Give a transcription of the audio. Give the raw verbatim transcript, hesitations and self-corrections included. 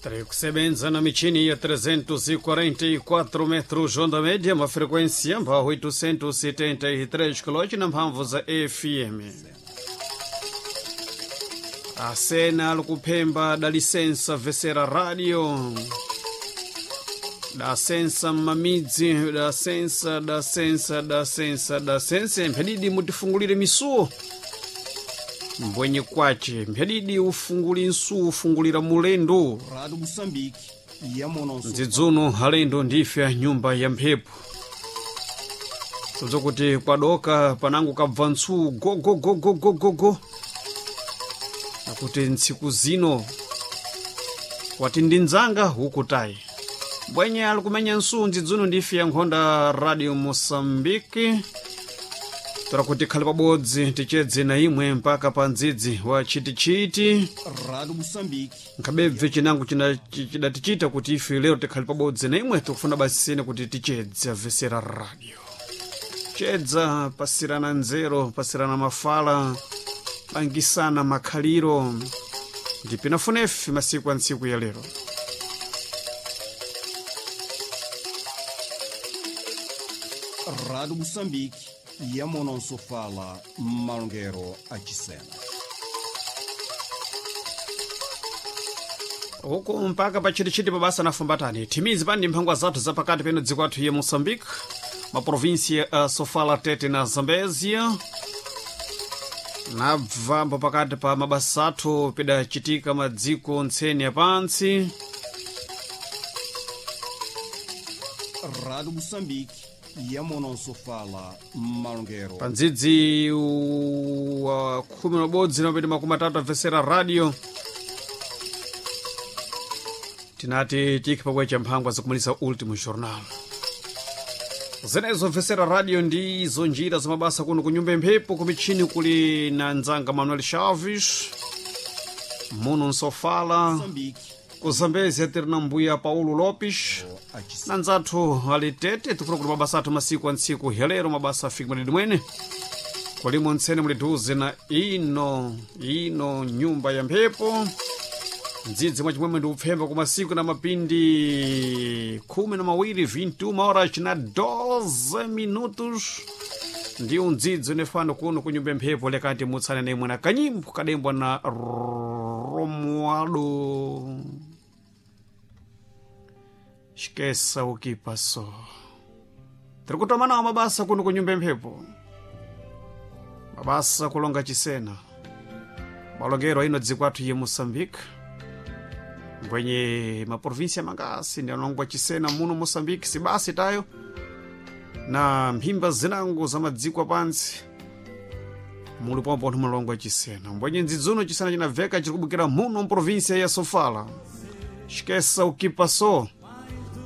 Tiri kusebenza na michini ya trezentos e quarenta e quatro metros onda média, uma frequência para oitocentos e setenta e três quilômetros na mphamvu za F M. Asena alikuphemba dalisensa vesera radio, dasensa mmamidzi, dasensa, dasensa, dasensa, dasensa. Mphadidi mutifungulire misuwo mbwenye kwace, mphadidi ufunguli nsuwo ufungulira mulendo. Rádio Moçambique, yamononso. Ndzidzuno alendo ndife a nyumba ya mphepo, kuti kwadoka panango kabva ntsuwu gogogogogogogo, akuti ntsiku zino wati ndi ndzanga huku tayi bwenye ali kumenya nsuwu. Ndzidzuno ndife ya nkhonda Radio Moçambique, tora kuti khale pabodzi tichedze na imwe mpaka pa ndzidzi wa chitichiti. Rádio Moçambique. Nkhabebve chinango china- chi- chidatichita kuti ife lero tikhale pabodzi na imwe, tikufuna basisene kuti tichedze avesera radio, chedza, pasirana nzero, pasirana mafala, pangisana makhaliro, ndipinafunefe masiku a ntsiku ya lero. Rádio Moçambique, yamononso fala malongero achisena. Huku mpaka pachitichiti pabasa nafumbatani thimizi pani mphangwa zathu zapakati peno dziko athu ya Moçambique, maprovinsia a Sofala, Tete na Zambezia. Nabvambo pakati pa mabasa athu pidachitika madziko ntseni yapantsi. Rádio Moçambique, yamononso fala malongero. Pa ndzidzi wa khumi na ubodzi na mapiti makumi atatu abvesera radio, tinati tikhe pakwecha mphangwa zakumalisa Ultimo Jornal. Zenezo mvesera radio ndizo njira za mabasa kuno kunyumba mphepo. Kumichini kuli na ndzanga Manuel Chaves muno nsofala. Moçambique, Ku Zambezia tiri na mbuya Paulo Lopes achisena. na ndzathu ali Tete. Tikufuna kuti mabasa athu masiku a ntsiku helero mabasa afike madidi mwene kulimo ntsene muli duze na ino ino nyumba ya mphepo. Ndzidzi mwa chimwemwe ndi upfemba ku masiku na mapindi khumi na mawiri, vinte e uma horas na doze minutos, ndiwo ndzidzi unefano kuno kunyumba ya mphepo. Lekati mutsane na imwe na kanyimbo kadembwa na Romualdo Esqueça o que passou. Tiri kutoma nawo mabasa kuno kunyumba mphepo, mabasa kulonga chisena malongero ino dziko athu ye Moçambique, mbwenye maprovinsia mangasi ndi analongwa chisena muno Moçambique, sibasi tayo na mphimba zinango za madziko apantsi muli pomwe pontho mulongwa chisena. Mbwenye ndzidzuno chisena chinabveka chiri kubukira muno mprovinsia ya Sofala. Esqueça o que passou.